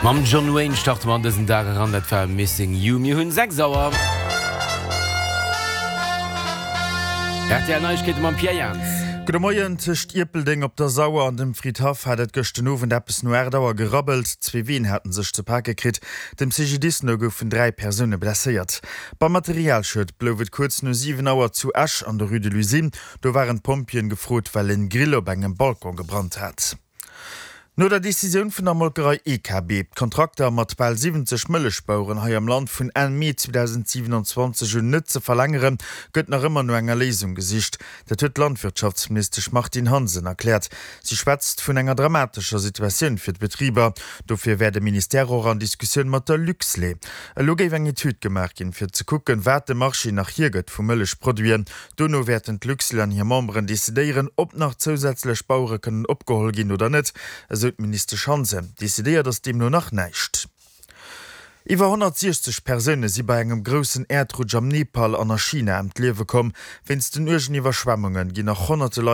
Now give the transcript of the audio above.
Mam John Wayne starte mer an dësen Dag eran. Dat war Missing You. Mir hunn 6 Auer. Rtl Neiegkeete mam Pierre Jans. Gudde Moien. Tëscht Ierpeldeng op der Sauer an dem Fridhaff hat et gëscht den Owend eppes no 8 Auer gerabbelt. Zwee Ween haten sech ze pake kritt. Dem CGDIS no goufen 3 Persoune blesséiert. Beim Materialschued blouf et kuerz no 7 Auer zu Esch an der Rue de l'Usine. Do waren d'Pompjeeën gefrot, well en Grill op engem Balcon gebrannt hat. No der Decisioun vun der Molkerei EKB, d'Kontrakter mat bal 70 Mëllechbaueren hei am Land vun Enn Mee 2027 un net ze verlängeren, gëtt nach ëmmer no enger Léisung gesicht. Dat huet d'Landwirtschaftsministesch Martine Hansen erkläert. Si schwätzt vun enger dramatescher Situatioun fir d'Betriber. Dofir wär de Ministère och an Diskussioun mat der Luxlait. Elo géif eng Etüd gemaach ginn, fir ze kucken, wat de Marché nach hiergëtt vu Mëllechproduiten. Dono wäerten d'Luxlait an hir Memberen decidéieren, ob nach zousätzlech Bauere kënnen opgeholl ginn oder net, esou d'Ministesch Hansen. Decidéiert ass deemno nach näischt. Iwwer 160 Persoune si bei engem groussen Äerdrutsch am Nepal an a China ëm d'Liewe komm. Wéinst den uergen Iwwerschwemmunge ginn nach honnerte Leit.